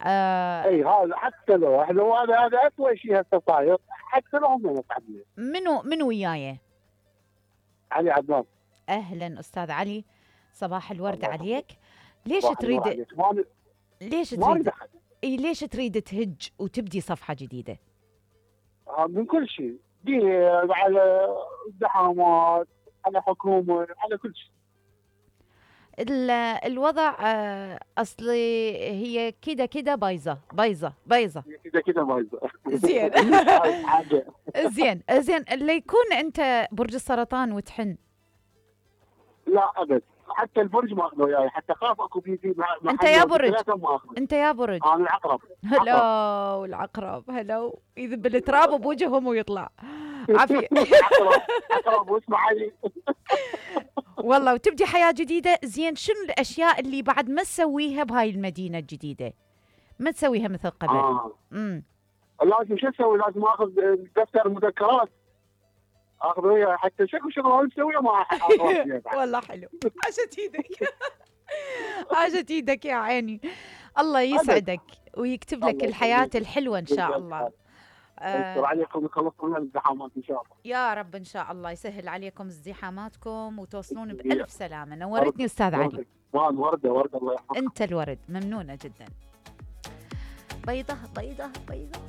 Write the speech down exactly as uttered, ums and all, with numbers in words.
آه اي هذا حتى لو احنا، وهذا هذا اسوء شيء هسه صاير، حتى لو هم متعبين. منو منو وياي؟ علي عدنان. اهلا استاذ علي، صباح الورد الله عليك. يحفظك. ليش صباح النور تريد عليك. ما ن- ليش ما اريد تريد احد. اي ليش تريد تهج وتبدي صفحة جديدة؟ آه، من كل شيء، دين، على ازدحامات، على حكومه، على كل شيء. ال- الوضع آه، اصلي هي كده كده بايظه بايظه بايظه. كذا كذا بايظه. زين. هاي حاجه. زين زين اللي يكون انت برج السرطان وتحن. لا ابد، حتى البرج ما اخذه وياي، حتى خاف اكو بيجي مع مع انت حد يا أو برج ثلاثة ما اخذه. انت يا برج انا العقرب. عقرب. هلو العقرب هلو يذب التراب بوجههم ويطلع عافيه. عقرب عقرب واسمع علي. والله وتبدي حياه جديده. زين شنو الاشياء اللي بعد ما تسويها بهاي المدينه الجديده؟ ما تسويها مثل قبل. اه امم لازم شو اسوي؟ لازم اخذ دفتر مذكرات اخذ وياي، حتى شكو شغله مسويه ما اخذ. والله حلو. عاشت ايدك. عاشت ايدك يا عيني. الله يسعدك ويكتب لك الحياة الحلوة ان شاء الله. يستر عليكم ويخلصون من الازدحامات ان شاء الله. يا رب ان شاء الله يسهل عليكم ازدحاماتكم وتوصلون بألف سلامة. نورتني استاذ علي. ورده ورده الله يحفظك. انت الورد، ممنونة جدا. بيضة بيضة بيضة.